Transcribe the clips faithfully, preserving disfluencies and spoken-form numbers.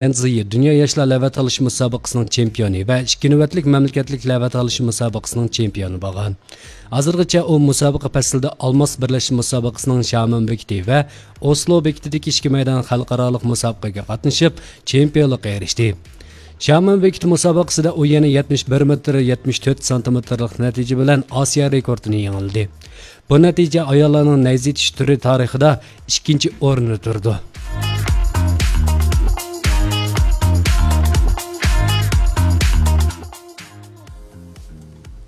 ئەنزىيى دۇنيا ياشلار لەۋە تالىشىش مۇسابىقىسىنىڭ چېمپىيونى ۋە ئىككى نۆۋەتلىك مەملىكەتلىك لەۋە تالىشىش مۇسابىقىسىنىڭ چېمپىيونى بولغان. ھازىرغىچە ئۇ مۇسابىقە پەسلىدە ئالماس بىرلەشمە مۇسابىقىسىنىڭ شيامېن بېكىتى ۋە ئوسلو بېكىتىدىكى ئىككى مەيدان خەلقئارالىق مۇسابىقىگە قاتنىشىپ، چېمپىيونلۇققا ئېرىشتى. شيامېن بېكىتى مۇسابىقىسىدە ئۇ يەنە يەتمىش بىر مېتىر يەتمىش تۆت سانتىمېتىرلىق نەتىجە بىلەن ئاسىيا رېكورتىنى يېڭىلىدى. بۇ نەتىجە ئاياللارنىڭ نەيزە ئېتىش تۈرى تارىخىدا ئىككىنچى ئورۇندا تۇرىدۇ.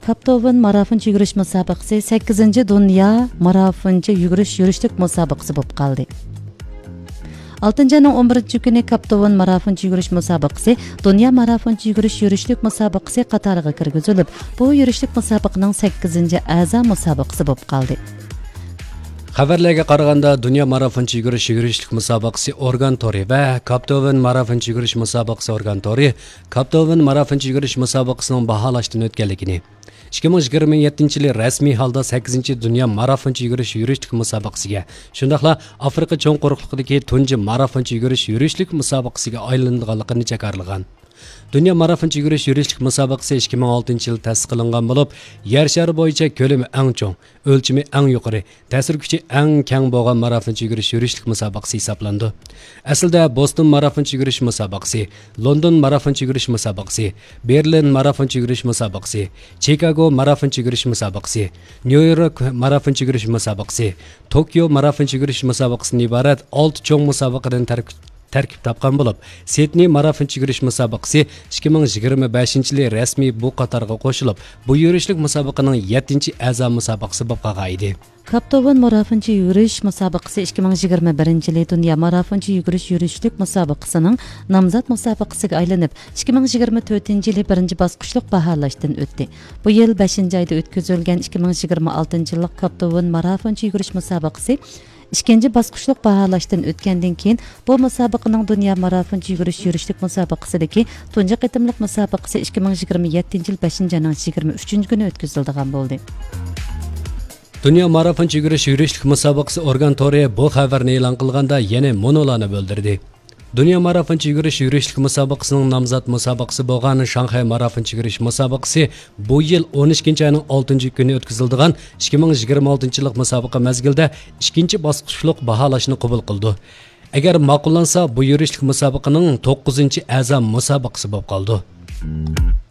كاپتوۋېن مارافونچە يۈگۈرۈش مۇسابىقىسى سەككىزىنچى دۇنيا مارافونچە يۈگۈرۈش يۈرۈشلۈك مۇسابىقىسى بولۇپ قالدى. ئالتىنچى ئاينىڭ ئون بىرىنچى كۈنى كاپتوۋېن مارافونچە يۈگۈرۈش مۇسابىقىسى دۇنيا مارافونچە يۈگۈرۈش يۈرۈشلۈك مۇسابىقىسى قاتارىغا كىرگۈزۈلۈپ، بۇ يۈرۈشلۈك مۇسابىقىنىڭ سەككىزىنچى ئەزا مۇسابىقىسى بولۇپ قالدى. خەۋەرلەرگە قارىغاندا، دۇنيا مارافونچە يۈگۈرۈش يۈرۈشلۈك مۇسابىقىسى ئورگان تورى ۋە كاپتوۋېن مارافونچە يۈگۈرۈش مۇسابىقىسى ئورگان تورى كاپتوۋېن مارافونچە يۈگۈرۈش مۇسابىقىسىنىڭ باھالاشتىن ئۆتكەنلىكىنى، ئىككى مىڭ يىگىرمە يەتتىنچى يىلى رەسمىي ھالدا سەككىزىنچى دۇنيا مارافونچە يۈگۈرۈش يۈرۈشلۈك مۇسابىقىسىگە، شۇنداقلا ئافرىقا چوڭ قۇرۇقلۇقىدىكى تۇنجى مارافونچە يۈگۈرۈش يۈرۈشلۈك مۇسابىقىسىگە ئايلىنىدىغانلىقىنى جاكارلىغان. دۇنيا مارافونچە يۈگۈرۈش يۈرۈشلۈك مۇسابىقىسى ئىككى مىڭ ئالتىنچى يىل تەسىس قىلىنغان بولۇپ، يەر شارى بويىچە كۆلىمى ئەڭ چوڭ، ئۆلچىمى ئەڭ يۇقىرى، تەسىر كۈچى ئەڭ كەڭ بولغان مارافونچە يۈگۈرۈش يۈرۈشلۈك مۇسابىقىسى ھېسابلىنىدۇ. ئەسلىدە بوستون مارافونچە يۈگۈرۈش مۇسابىقىسى، لوندون مارافونچە يۈگۈرۈش مۇسابىقىسى، بېرلىن مارافونچە يۈگۈرۈش مۇسابىقىسى، چىكاگو مارافونچە يۈگۈرۈش مۇسابىقىسى، نيۇ يورك مارافونچە يۈگۈرۈش مۇسابىقىسى، توكيو مارافونچە يۈگۈرۈش مۇسابىقىسىدىن ئىبارەت ئالتە چوڭ مۇسابىقىدىن تەرك-، تەركىب تاپقان بولۇپ، سىدنېي مارافونچە يۈگۈرۈش مۇسابىقىسى ئىككى مىڭ يىگىرمە بەشىنچى يىلى رەسمىي بۇ قاتارغا قوشۇلۇپ، بۇ يۈرۈشلۈك مۇسابىقىنىڭ يەتتىنچى ئەزا مۇسابىقىسى بولۇپ قالغان ئىدى. كاپتوۋېن مارافونچە يۈگۈرۈش مۇسابىقىسى ئىككى مىڭ يىگىرمە بىرىنچى يىلى دۇنيا مارافونچە يۈگۈرۈش يۈرۈشلۈك مۇسابىقىسىنىڭ نامزات مۇسابىقىسىگە ئايلىنىپ، ئىككى مىڭ يىگىرمە تۆتىنچى يىلى بىرىنچى باسقۇچلۇق باھالاشتىن ئۆتتى. بۇ يىل بەشىنچى ئايدا ئۆتكۈزۈلگەن ئىككى مىڭ يىگىرمە ئالتىنچى يىللىق كاپتوۋېن مارافونچە يۈگۈرۈش مۇسابىقىسى ئىككىنچى باسقۇچلۇق باھالاشتىن ئۆتكەندىن كېيىن، بۇ مۇسابىقىنىڭ دۇنيا مارافونچە يۈگۈرۈش يۈرۈشلۈك مۇسابىقىسىدىكى تۇنجى قېتىملىق مۇسابىقىسى ئىككى مىڭ يىگىرمە يەتتىنچى يىل بەشىنچى ئاينىڭ يىگىرمە ئۈچىنچى كۈنى ئۆتكۈزۈلىدىغان بولدى. دۇنيا مارافونچە يۈگۈرۈش يۈرۈشلۈك مۇسابىقىسى ئورگان تورى بۇ خەۋەرنى ئېلان قىلغاندا يەنە مۇنۇلارنى بىلدۈردى. دۇنيا مارافونچە يۈگۈرۈش يۈرۈشلۈك مۇسابىقىسىنىڭ نامزات مۇسابىقىسى بولغان شاڭخەي مارافونچە يۈگۈرۈش مۇسابىقىسى بۇ يىل ئون ئىككىنچى ئاينىڭ ئالتىنچى كۈنى ئۆتكۈزۈلىدىغان ئىككى مىڭ يىگىرمە ئالتىنچى يىللىق مۇسابىقە مەزگىلىدە ئىككىنچى باسقۇچلۇق باھالاشنى قوبۇل قىلىدۇ. ئەگەر ماقۇللانسا، بۇ يۈرۈشلۈك مۇسابىقىنىڭ توققۇزىنچى ئەزا مۇسابىقىسى بولۇپ قالىدۇ.